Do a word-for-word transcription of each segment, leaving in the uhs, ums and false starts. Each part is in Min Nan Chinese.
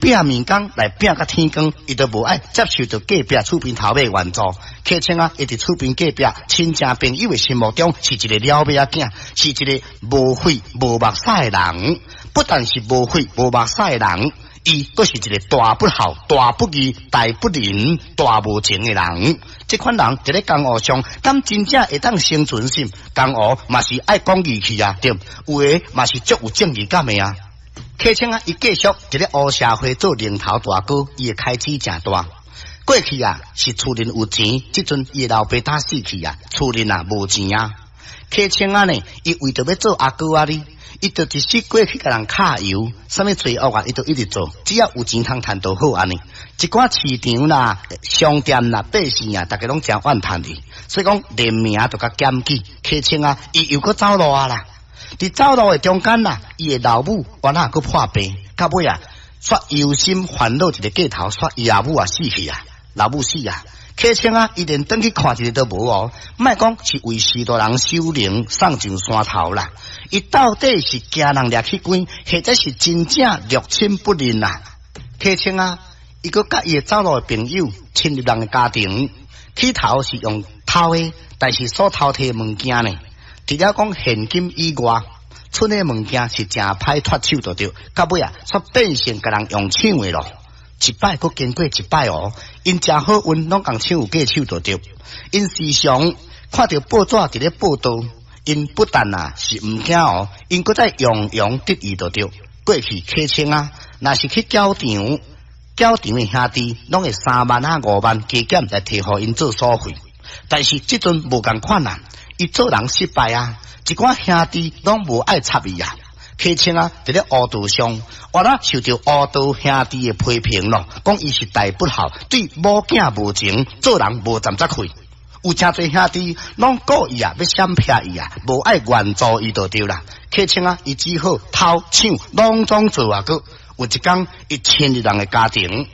拚麵工來拚甲天光，伊都無愛接受著隔壁厝邊頭尾援助。客稱啊，伊佇厝邊隔壁親情朋友的心目中是一个了尾仔囝，是一个無血無目屎的人。不但是無血無目屎的人，伊閣是一个大不孝、大不義、大不仁、大無情的人。這款人佇咧江湖上，敢真正會當生存心？江湖嘛是愛講義氣啊，對？有的嘛是足有正義感的啊。客稱啊，伊繼續佇咧烏社會做領頭大哥，伊的開支誠大。過去啊，是厝內有錢，這陣伊的老爸打死去啊，厝內啊無錢啊。客稱啊呢，伊為著欲做阿哥仔哩，伊就一世過去共人敲油，啥物罪惡啊，伊都一直做，只要有錢通趁就好按呢。一寡市場啦、商店啦、百姓啊，逐家攏誠怨嘆伊，所以講連名都共檢舉。客稱啊，伊又閣走路啊啦。佇走路的中間啦，伊的老母原來閣破病，到尾啊，煞憂心煩惱一个過頭，煞伊阿母也死去啊，老母死啊。客稱啊，伊連轉去看一下都無哦。莫講是為序大人守靈送上山頭啦，伊到底是驚人掠去關，或者是真正六親不認啊？客稱啊，伊閣佮伊的走路的朋友侵入人的家庭，起頭是用偷的，但是所偷提的物件呢？除了講現金以外，賰的物件是誠歹脫手就對，到尾啊，煞變成共人用搶的咯。一擺閣經過一擺哦，𪜶誠好運，攏共搶有過手就對。𪜶時常看著報紙佇咧報道，𪜶不但啊是毋驚哦，𪜶閣再洋洋得意就對。過去客稱啊，若是去攪場，攪場的兄弟攏會三萬啊五萬加減來提予𪜶做所費，但是這陣無仝款啊。伊做人失敗啊，一寡兄弟攏無愛插伊啊。客稱啊，佇咧烏道上，原來受著烏道兄弟的批評咯，講伊是大不孝，對某囝無情，做人無站則氣。有誠濟兄弟攏故意啊，欲閃避伊啊，無愛援助伊就對啦。客稱啊，伊只好偷搶，攏總做啊。閣有一工，伊侵入人的家庭，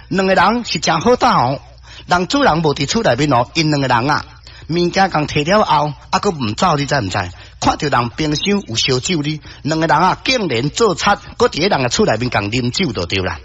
兩個人是誠好鬥哦。人主人無佇厝內面哦，𪜶兩個人啊，物件共提了後，猶閣毋走，你知毋知？看著人冰箱有燒酒哩，兩個人啊，竟然做賊，閣佇咧人的厝內面共啉酒就對啦。